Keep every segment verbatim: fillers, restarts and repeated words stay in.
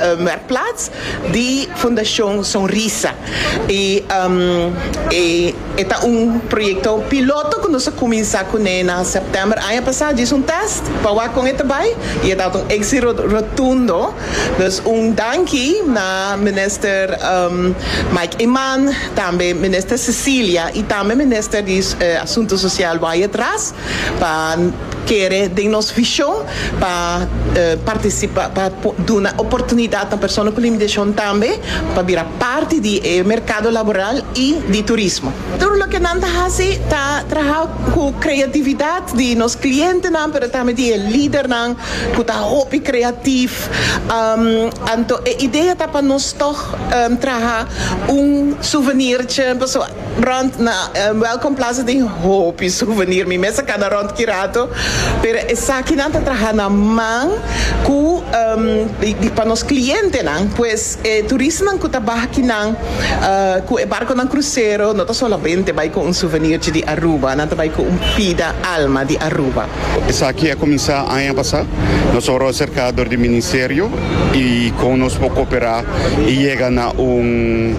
uh, werkplaats di Fundacion Sonrisa. Y um, e, e ta un proyecto piloto cu nos a cuminsa cune na september aña pasa, djis un test pa wak con e ta bay y ta un exito rotundo. Dus un danki na minister um, Mike Eman, tambe minister Cecilia y tambe minister di uh, Asunto Social Wyatt-Ras pa kere den nos vision pa uh, participa, pa duna oportunidad na persona cu limitacion tambe pa bira parti di eh, mercado laboral y di turismo. Tur loke nan ta haci ta traha cu creatividad di nos clientenan, pero tambe di lidernan cu ta hopi creativo. Um, anto e idea ta pa nos toch um, traha un souvenirtje, paso rond na um, Welcome Plaza tin hopi souvenir, mi mes a cana rond ki rato, pero esaki nan ta traha na man cu um, di, di pa nos clientenan, pues eh, turistanan cu ta baha akinan uh, cu e barconan crucero no ta solamente bay cu un souvenir di Aruba, nan ta bay cu un pida alma di Aruba. Esaki a cuminsa aña pasa. Nos a wordo acerca di ministerio y con nos por coopera y yega na un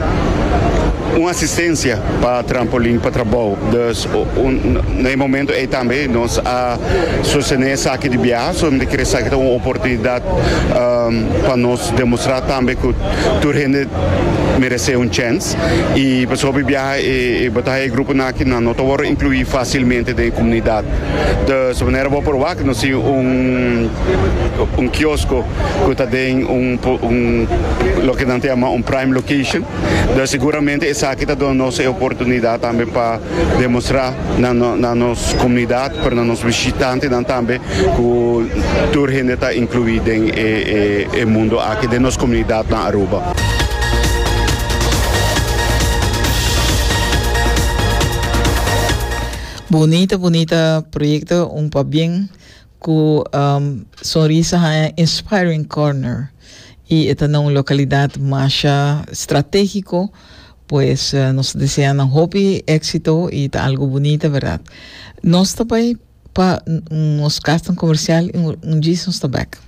un asistencia pa trampolin pa trabou. Dus un, na momento ey tambe nos a sostene esaki di biaha, so mi kier esaki un oportunidad um, pa nos demostra tambe cu tur hende merece un chance y pa e biaha y, y bo ta haya gruponan aki no ta wordo inclui facilmente den comunidad. Dus manera bo por wak nos tin un un kiosko cu ta den un un loke nan ta yama un prime location. Dus seguramente esaki ta duna nos e oportunidad tambe pa demostra na, na nos comunidad, pa nos bishitantenan tambe cu tur hende ta inclui den e, e, e mundo aki di nos comunidad na Aruba. Bunita, bunita proyecto, un pabien cu um, Sonrisa Inspiring Corner y ta na un localidad mas strategico, pues uh, nos ta desea hopi exito y ta algo bunita, berdad? Nos ta bay pa nos cas comercial, un, un dia nos ta back.